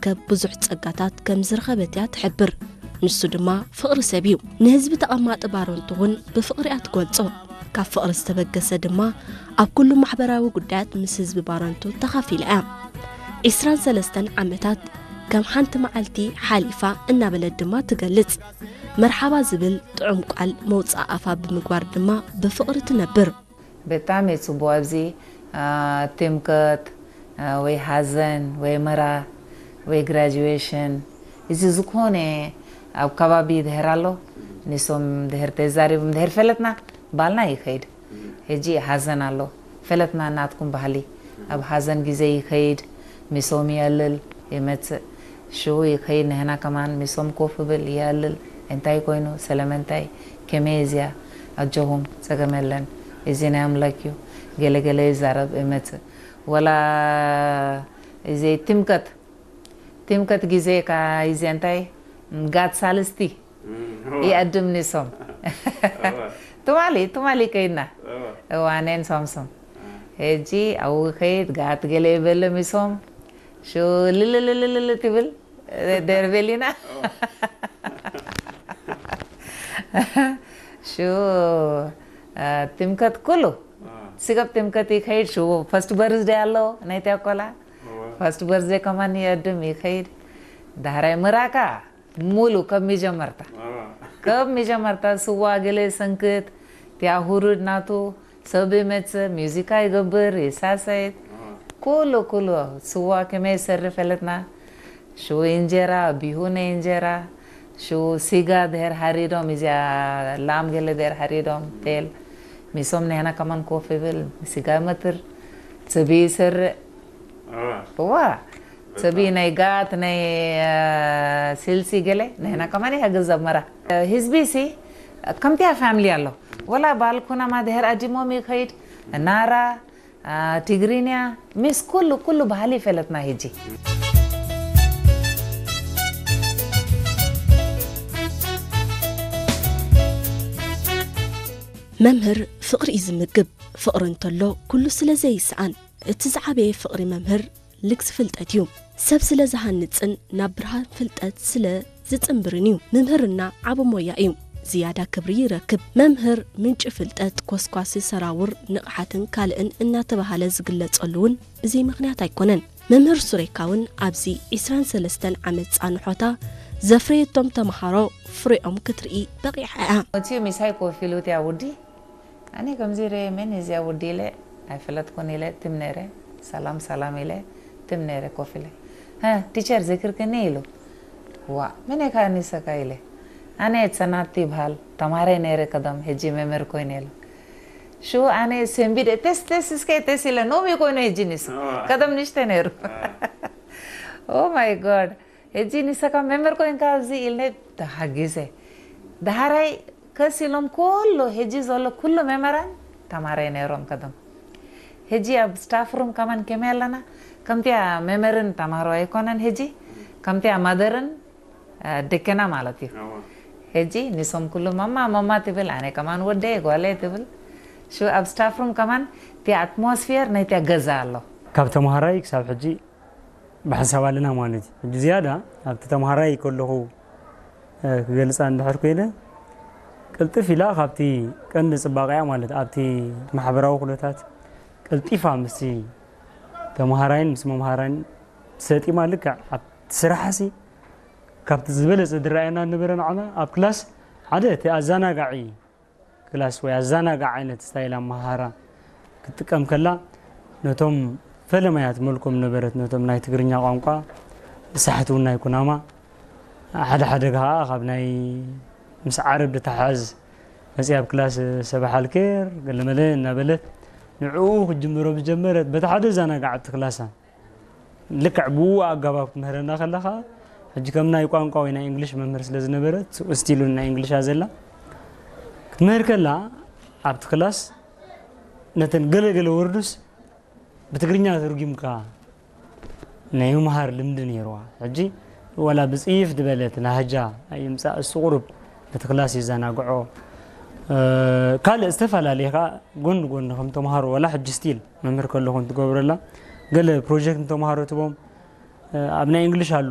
ዝርከብ ብዙሕ ጸጋታት ከም ዝረኸበት እያ ትሕብር። ንሱ ድማ ፍቕሪ ሰብ እዩ። ንህዝቢ ተቐማጢ ባረንቱ እውን ብፍቕሪ እያ ትገልጾ። ካብ ፍቕሪ ዝተበገሰ ድማ ኣብ ኩሉ ማሕበራዊ ጉዳያት ምስ ህዝቢ ባረንቱ ተኻፊላ እያ። ዒስራን ሰለስተን ዓመታት ከም ሓንቲ መዓልቲ ሓሊፋ እናበለት ድማ ትገልጽ። መርሓባ ዝብል ጥዑም ቃል መውጽኣ ኣፋ ብምግባር ድማ ብፍቕሪ ትነብር። በጣም እየ ጽቡቕ። ኣብዚ ትምቀት ወይ ሓዘን ወይ ምራ ወይ ግራጁዌሽን፣ እዚ ዝኾነ ኣብ ከባቢ ድሕር ኣሎ፣ ንሶም ድሕር ተዛሪቦም ድሕር ፈለጥና ባልና ይኸይድ። ሕጂ ሓዘን ኣሎ፣ ፈለጥና ናትኩም ባህሊ። ኣብ ሓዘን ግዜ ይኸይድ፣ ምሶም የልል ይመጽእ። ሽኡ ይኸይድ፣ ንህና ከማን ምሶም ኮፍ ብል የልል። እንታይ ኮይኑ፣ ስለመንታይ፣ ከመይ እዚያ፣ ኣጆኹም፣ ጸገም የለን፣ እዚ ናይ ኣምላክ እዩ፣ ገለ ገለ ይዛረብ ይመጽእ። ወላ እዚ ትምቀት፣ ትምቀት ግዜ ካ እዚ እንታይ፣ ጋት ሳልስቲ ይኣድም ንሶም። ትማሊ፣ ትማሊ ከይድና። እዋ፣ ኣነን ሶምሶም። ሕጂ ኣብኡ ከይድ፣ ጋት ገለ ይበለ ምሶም። ሽኡ ልልልልልል ትብል፣ ደርቤሊና። ሽኡ ትምከት ኩሉ። ስገብ ትምከት ይከይድ፣ ሽኡ ፈስት በርዝደይ ኣሎ፣ ናይታ ቆላ። ፈስት በርዝደይ ከማን ይእድም ይከይድ። ዳሕራይ ምራካ ሙሉ ከብ መጀመርታ። ከብ መጀመርታ ስዋ ገለ ሰንክት፣ ቲያ ሁሩድ ናቱ፣ ሰብ ይመጽእ፣ ሙዚቃ ይገብር፣ ይሳሰይት። ኩሉ፣ ኩሉ ስዋ ከመይ ይሰርሕ ፈለጥና። ሽኡ እንጀራ፣ ቢሁ ናይ እንጀራ፣ ሽኡ ስጋ ድሕር ሃሪዶም፣ እዚኣ ላም ገለ ድሕር ሃሪዶም፣ ቴል። ሚሶም ንሕና ከማን ኮፍ ይብል፣ ስጋ ይመትር፣ ጽብሒ ይሰርዕ። እዋ፣ ጽብሒ ናይ ጋት፣ ናይ፣ አ፣ ስልሲ ገለ፣ ንሕና ከማን ይሕግዝ ኣብ መራ። ህዝቢ ሲ፣ ከምቲያ ፋሚሊ ኣሎ። ወላ ባል ኩናማ ድሕር ኣዲሞም ይኸይድ፣ ናራ፣ አ፣ ትግርኛ፣ ምስ ኩሉ፣ ኩሉ ባህሊ ፈለጥና ሂጂ። መምህር ፍቕሪ እዩ ዝምግብ። ፍቕሪ እንተሎ ኩሉ ስለ ዘይሰኣን፣ እቲ ዝዓበየ ፍቕሪ መምህር ልግሲ ፍልጠት እዩ። ሰብ ስለ ዝሃንጽን ናብ ብርሃን ፍልጠት ስለ ዝጽንብርን እዩ። ምምህርና ዓቢ ሞያ እዩ። ዝያዳ ክብሪ ይረክብ። መምህር ምንጪ ፍልጠት፣ ኮስኳሲ ሰራውር፣ ንቕሓትን ካልእን እናተባህለ ዝግለጸሉ እውን ብዘይ ምኽንያት ኣይኮነን። መምህር ሱሬካ እውን ኣብዚ ዒስራን ሰለስተን ዓመት ጻንሖታ ዘፍረየቶም ተምሃሮ ፍሬኦም ክትርኢ በቒዓ እያ። መፅዩ ምሳይ ኮፍ ኢሉ፣ እቲያ ውዲ ኣነ ከምዚ ኢለ መን እዚያ ውዲ ኢለ ኣይፈለጥኩን ኢለ ትም ነይረ። ሰላም ሰላም ኢለ ትም ነይረ ኮፍ ኢለ። "ሀ፣ ቲቸር ዘኪርክኒ?" ኢሉ። "ዋ፣ መን ኢኻ ንሰካ?" ኢለ። "ኣነ ጽናት ይብሃል፣ ተማሃራይ ነይረ ቀደም፣ ሕጂ መምህር ኮይነ" ኢሉ። ሽኡ ኣነ ሰንቢደ፣ "ተስ፣ ተስ፣ እስከ ተስ" ኢለ፣ ኖሚ ኮይኑ ሕጂ ንሱ። ኣዋ። ቀደም ንእሽተ ነይሩ። ኣዋ። ኦ ማይ ጎድ። ሕጂ ንሰካ መምህር ኮይንካ ኣብዚ ኢልነ ተሓጊሰ። ዳሕራይ ከስ ኢሎም ኩሉ፣ ሕጂ ዘሎ ኩሉ መምህራን ተማሃራይ ነይሮም ቀደም። ሕጂ ኣብ ስታፍ ሩም ከማን ከመይ ኣለና? ከምቲያ መምህርን ተማሃሮ ኣይኮነን ሕጂ፣ ከምቲያ ማደርን፣ አ፣ ደከና ማለት እዩ። ኣዋ። ሕጂ ንሶም ኩሉ ማማ፣ ማማ ትብል፣ ኣነ ከማን ወደይ፣ ጓለይ ትብል። ሽኡ ኣብ ስታፍ ሩም ከማን እቲ ኣትሞስፊየር ናይታ ገዛ ኣሎ። ካብ ተምሃራይ ክሳብ ሕጂ ብሓንሳብ ኣለና ማለት እዩ። ሕጂ ዝያዳ ኣብቲ ተምሃራይ ከለኹ፣ እ፣ ክገልጻ እንድሕር ኮይነ፣ ቅልጥፍ ኢላ ካብቲ ቀንዲ ጽባቐያ ማለት ኣብቲ ማሕበራዊ ኩነታት ቀልጢፋ ምስቲ ተምሃራይን ምስ መምሃራይን ሰጢማ ልክዕ ኣብቲ ስራሕሲ ካብቲ ዝበለጸ ዝረኣየና ዝነበረ ንዓና ኣብ ክላስ ሓደ እቲ ኣዘናጋዒ ክላስ ወይ ኣዘናጋዕ ዓይነት ስታይል ኣመሃህራ ክትጥቀም ከላ፣ ነቶም ፈለማያት መልኮም ነበረት፣ ነቶም ናይ ትግርኛ ቋንቋ ብሳሕቲ እውን ናይ ኩናማ፣ ሓደ ሓደ ከዓ ካብ ናይ ምስ ዓረብ ዝተሓዝ መፅያ ኣብ ክላስ ሰባሕ ኣልኬር ገለመለ እናበለት ንዕኡ ክትጅምሮ ዝጀመረት፣ በቲ ሓደ ዛናጋዕ ኣብቲ ክላሳ ልክዕ ብኡ ኣገባብ ክትምህረና ከላ ከዓ፣ ሕጂ ከም ናይ ቋንቋ ወይ ናይ እንግሊሽ መምህር ስለ ዝነበረት፣ ስቲሉ ናይ እንግሊሽ እያ ዘላ። ክትምህር ከላ፣ ኣብቲ ክላስ ነተን ገለ ገለ ወርዱስ ብትግርኛ ተርጒምካ ናይ ምምሃር ልምዲ ነይርዋ። ሕጂ ዋላ ብጽይፍ ዝበለት ላህጃ ኣይምጻእ፣ እሱ ቁሩብ ነቲ ክላስ የዘናግዖ። እ፣ ካልእ ዝተፈላለየ ከኣ ጎኒ ጎኒ ከም ተምሃሮ፣ ዋላ ሕጂ ስቲል መምህር ከለኹ እንትገብረላ፣ ገለ ፕሮጀክት ንተምሃሮ ትቦም፣ እ፣ ኣብ ናይ እንግሊሽ ኣሎ።